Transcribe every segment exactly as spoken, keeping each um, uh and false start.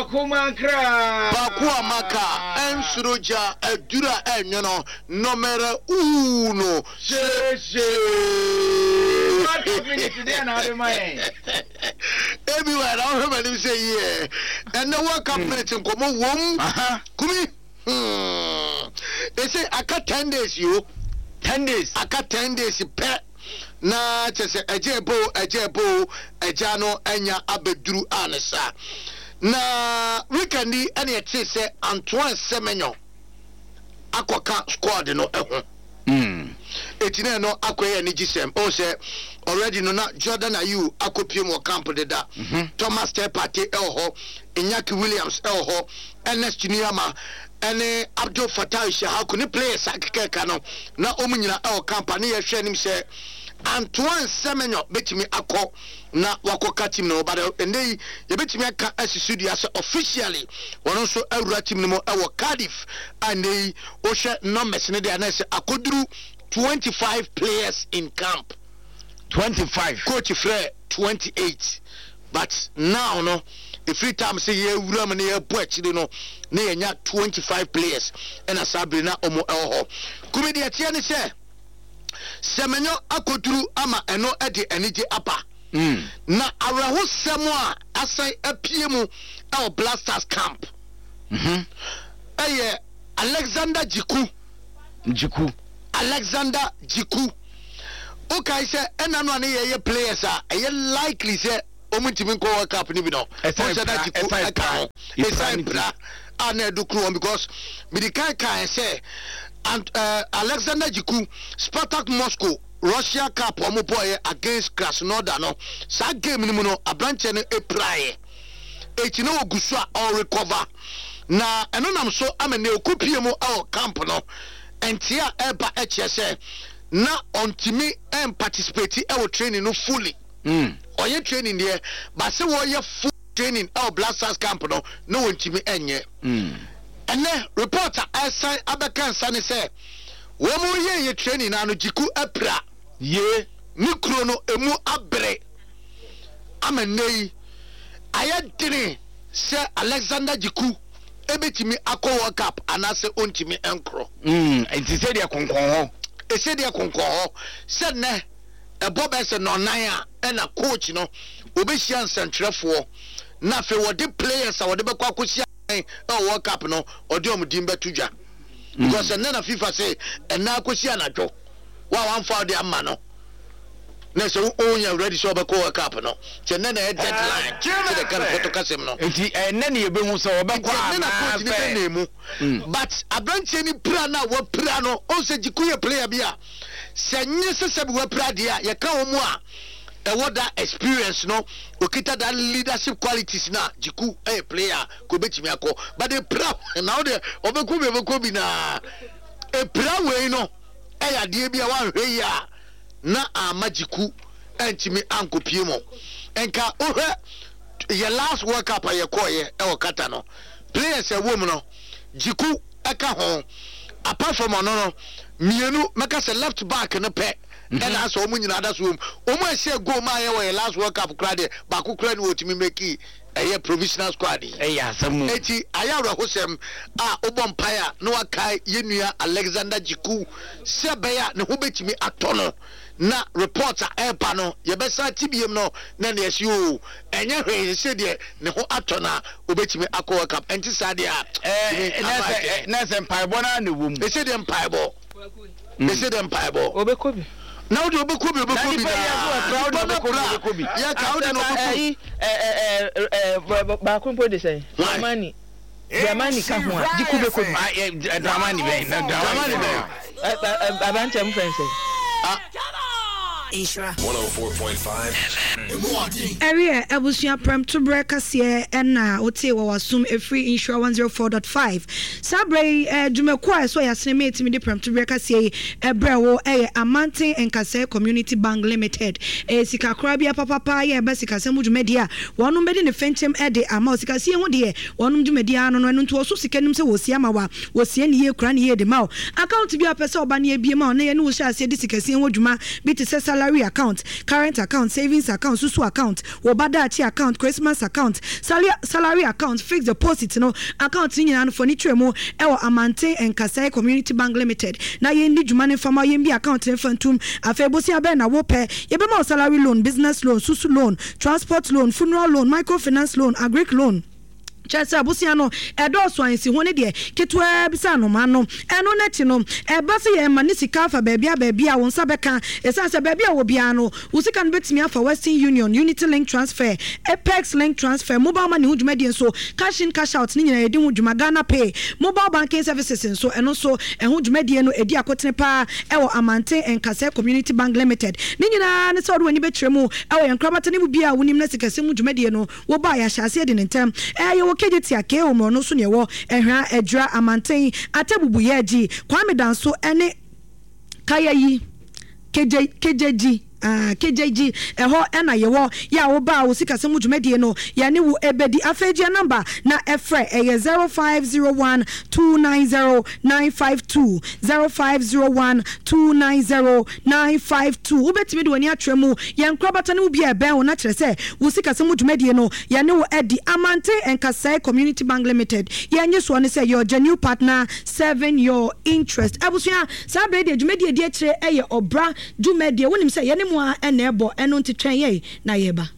Ɔkomankra. Baako a maka ɛnsoro gya aduru a ɛnwono nɔmɛrɛ uno. Hyehye. World Cup minute deɛ na ade ma yɛn. Ebi wa na ɔhwɛ m'anim sɛ yie. Ɛnɛ World Cup minute nkɔmɔ wom. Kumi. Hmm. Ese aka ten days yo. Ten days. Aka ten days pɛ. Na kyɛ sɛ ɛgya ɛbo, ɛgya ɛbo, ɛgya no ɛnya abɛduru a ne sa. Na weekend yi ɛna ɛte sɛ Antoine Semenyo akɔka squad no ɛho. Eti na ɛno akɔyɛ anigye sɛm. Ɔn sɛ already no na Jordan Ayew akɔpie mu wɔ camp deda. Thomas Partey ɛwɔ hɔ, Iñaki Williams ɛwɔ hɔ, Ernest Nuamah ɛne Abdul Fattah Issahaku ne players akekɛka no na wɔn nyinaa ɛwɔ camp a ne yɛhwɛ anim sɛ Antoine Semenyo bɛtumi akɔ na wakɔka team no, but ɛnɛ yi yɛbɛtumi aka asi so dua sɛ officially wɔn nso awura team no mu ɛwɔ Cardiff a ɛnɛ yi wohwɛ numbers ne deɛ anayɛ sɛ akɔduru twenty five players in camp. Twenty five. Coach frɛ twenty eight, but now no efiri time sɛ yɛwura mu na yɛbɔ akyire no na yɛnya twenty five players ɛna saa bere na wɔn ɛwɔ hɔ. Kumi, deɛ teɛ ne sɛ Semenyo akɔduru ama ɛno ɛde anigye aba. Mm. Na awerɛhosɛm a asan apue mu ɛwɔ Black Stars camp Mhm. ɛyɛ Alexander Djiku. Djiku. Alexander Djiku, wokae sɛ ɛna no a ne yɛyɛ players a ɛyɛ likely sɛ ɔmu ntumi nkɔ World Cup no bi no, Ɛsan ɔsɛ na pra- Djiku ɛsan ɛka pra. ho. Epra ɛsan ne ti. pra a na ɛdo kuro wɔn because mede kan kan sɛ Ant- eh, Alexander Djiku, Spartak Moscow Russia Cup ɔmo bɔɔyɛ against Krasnodar no, saa game no mu no aberanteɛ no epiraeɛ, eti na ogu so a ɔrecover na ɛno nam so ama ne okopie mu ɛwɔ camp no nti a ɛba ɛkyerɛ sɛ na ɔntumi ɛnparticipate ɛwɔ training no fully. Mm. Ɔyɛ training deɛ, but sɛ wɔyɛ full training ɛwɔ Black Stars camp no na wɔntumi ɛnyɛ. Mm. Ɛnɛ report a ɛsan abɛka nsa ne sɛ wɔn mo yɛ yɛ training na no Djiku apira. Ye. Ne kuro no emu abere ama nne yi ayɛ dene sɛ Alexander Djiku ebetumi akɔ World Cup anaasɛ ɔntumi nkorɔ. Mm. Nti sɛ deɛ konkɔn hɔ. Ɛsɛ deɛ konkɔn hɔ sɛ nnɛ ɛbɔ bɛyɛ sɛ nɔnan a ɛna coach no obɛhyia nsɛntwerɛfoɔ na afei wɔde players a wɔde bɛkɔ akɔhyia ɛwɔ World Cup no ɔde ɔmo din bɛto dwa because ɛnnɛ na FIFA sɛ ɛnna akɔsi anadwo wa wamfa ɔde ama no na sɛ wonya ready sɛ ɔbɛkɔ World Cup no kyɛ nnɛ na ɛyɛ deadline sɛ de ka no pɔtɔ kasɛm no. Nti ɛnɛ ne yɛbɛhu sɛ wɔbɛkɔ Nti ɛnnɛ na coach ne anaasɛ. bɛ mu, but aberanteɛ ni pira no a wapira no, ɔn sɛ Djiku yɛ player bi a sɛ nye sɛ sɛ bi wapira deɛ a yɛka wɔn mu a ɛwɔ da experience no, okita that leadership qualities na Djiku ɛyɛ player a kò obetumi akɔ, but epira na ɔde ɔbɛkɔ bi, ɔbɛkɔ bi na epira wei no ɛyɛ adeɛ bi a wanhwɛ yi a na ama Djiku ɛntumi ankɔpie mu. Nka wohwɛ yɛ last World Cup a yɛkɔɔyɛ ɛwɔ Qatar no, players a ɛwɔ mu no Djiku ɛka ho. Apart from ɔno no mmienu, mɛka sɛ left back no pɛ ɛna asɛ wɔn nyinaa da so wɔm. Wɔn a ɛhyɛ goal maa yɛ wɔ yɛ last World Cup koraa deɛ, baako koraa ni wɔtumi make ɛyɛ provisional squad yi. Ɛyɛ asɛm mu. Eti ayɛ awerɛhosɛm a wobɔ mpae a na wakae yɛn nua Alexander Djiku sɛ ɛbɛyɛ a ne ho bɛtumi atɔ no na report a ɛreba no yɛbɛsa ti biem no na ne yɛsi o ɛnyɛ hwee sɛ deɛ ne ho atɔ no a obɛtumi akɔ World Cup. Ɛnti saa deɛ a Ɛɛ na sɛ na sɛ mpaebɔ naa na ɛwɔ mu. Ɛsɛ deɛ mpaebɔ, ɛsɛ deɛ mpaebɔ. Obɛkɔ bi. Na wode obɛkɔ bi, obɛkɔ Na bi. nipa yi aso ɛpra, wode nipa no ɔbɛkɔ bi, pra ɔbɛkɔ bi. Yɛka wode na ɔbɛkɔ. Ɛyi ɛɛ ɛɛ baako mpo de sɛn? Why? Dramani Dramani ka ho a, Djiku bɛkɔ bi. Ah, ɛ Dramani bɛn na Dramani bɛn? Ɛ ɛ aberanteɛ mo fɛn sɛ. Nhyira. one oh four point five. Ɛreɛ abusua, prɛmtoberɛ kaseɛ ɛna wotee wɔ wasom ɛfiri Nhyira one oh four point five. Saa berɛ yi eh, dwumakuo a ɛsɔ yɛasene ma ɛtumi de prɛmtoberɛ kaseɛ yi ɛbrɛ wo ɛyɛ Amanten Nkasɛe Community Bank Limited. Ɛyɛ sikakora bi apapapa yɛ ɛba sikasɛm mu dwumadie a wɔnom bɛdi ne fɛnkyɛm ɛde ama wo. Sikasie ho deɛ, wɔnom dwumadie ano no ɛno nti wɔso sika nim sɛ wɔsie ama wa wɔsie ne yie kora ne yie de ma wo. Account bi a pɛ sɛ ɔba ne ebie ma wo na yɛne wo hyɛ aseɛ de sikasie ho dwuma bi te sɛ salary Salary account, current account, savings account, susu account, wo ba daakye account, Christmas account, salary account, fixed deposit no account ne nyinaa no fa ani kyerɛ mu wɔ Amanten Nkasɛe Community Bank Limited na yɛndi dwuma no mfa ma wo, yɛmbue account no mfa ntom. Afei bosea bɛn na wopɛ? Yɛbɛma wo salary loan, business loan, susu loan, transport loan, funeral loan, microfinance loan, agric loan. Kyerɛ sɛ, bosea no ɛdɔɔso a nsiho no deɛ ketewaa bi sɛ anomaa no. Ɛno no akyi no, ɛba sɛ yɛma ne sika afa baabi a baabi a wo nsa bɛka. Ɛsiane sɛ baabi a wɔ biara no, wo sika no bɛtumi afa Western Union, Unity Link Transfer, Apex Link Transfer, Mobile Money ho dwumadie nso, Cash In Cash Out ne nyinaa yɛdi ho dwuma, Ghana Pay, Mobile Banking Services nso, ɛno nso ɛho dwumadie no ɛdi akotene pa ara wɔ Amanten Nkasɛɛ Community Bank Limited. Ne nyinaa ne sɛ wode w'ani bɛkyerɛ mu wɔ yɛn nkorabata no mu biara a wonim na sikasɛm mu dwumadie no Wo ba a yɛahyɛ aseɛ di no ntɛm. Ɛɛ yɛwɔ Kejetia, K O Mmorɔno so na yɛwɔ, Ɛhwa, Adwira, Amanten, Atebubu, Yɛɛgyi, Kwame Danso ɛne Kayayi, Kegye, Kegyegyi, ah, Kegyegyi, ɛhɔ ɛna yɛwɔ. Yɛ a wo ba a wo sikasɛm mu dwumadie no yɛne wo ɛbɛdi. Afei gye yɛn namba na ɛfrɛ, ɛyɛ zero five zero one two nine zero nine five two, zero five zero one two nine zero nine five two. Wobɛtumi de w'ani akyerɛ mu yɛn nkorabata no mu bi a ɛbɛn wo na kyerɛ sɛ wo sikasɛm mu dwumadie no yɛne wo adi. Amante Nkasɛe Community Bank Limited, yɛn nnyesoɔ ne sɛ your genuine partner serving your interest. Abusua, saa berɛ yi deɛ dwumadie a ɛdi akyire yɛ ɔbra dwumadie. Wonim sɛ yɛne mo ara na ɛbɔ, ɛno nti twɛn yɛn na yɛreba.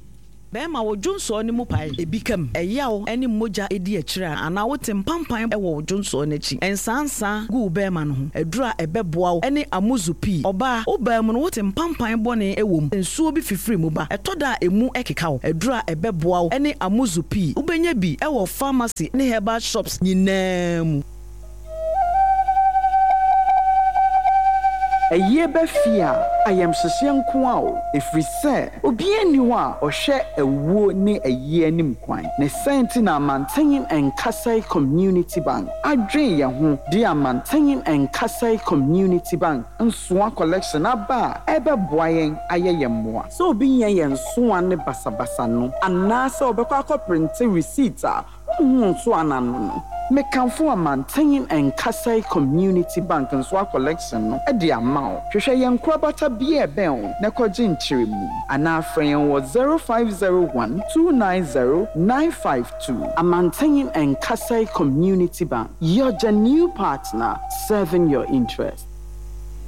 Bɛrima, wo dwonsɔɔ no mu pae, ebi ka mu, ɛyaw ne mogya di akyire a, anaa wote mpampan wɔ wo dwonsɔɔ no akyi. Nsaansaa gu wo bɛrima no ho. Aduru a ɛbɛboa wo ne amuzu pii. Ɔbaa, wo baa mu no wote mpampan bɔne wɔ mu, nsuo bi fifiri mu ba, ɛtɔ da a emu keka wo. Aduru a ɛbɛboa wo ne amuzu pii. Wobɛnya bi wɔ pharmacy ne herbal shops nyinaa mu. Ayie ba fie a, ayamhyehyeɛ nko ara o, ɛfiri sɛ obiara nni hɔ a ɔhwɛ awuo ne ayie anim kwan. Ne saa nti na Amanten Nkasɛe Community Bank adwen yɛn ho de Amanten Nkasɛe Community Bank nsoa collection aba a ɛbɛboa yɛn ayɛ yɛn mmoa. Sɛ obi nyɛ yɛn nsoa ne basabasa no anaasɛ ɔbɛkɔ akɔprinte receipt a wonhu nsoa no ano no, mekamfo Amanten Nkasɛe Community Bank nsoa collection no de ama wo. Hwehwɛ yɛn nkorabata bi a ɛbɛn wo na kɔgye nkyerɛmu anaa frɛ yɛn wɔ zero five zero one two nine zero nine five two. Amanten Nkasɛe Community Bank, your genuine partner serving your interest.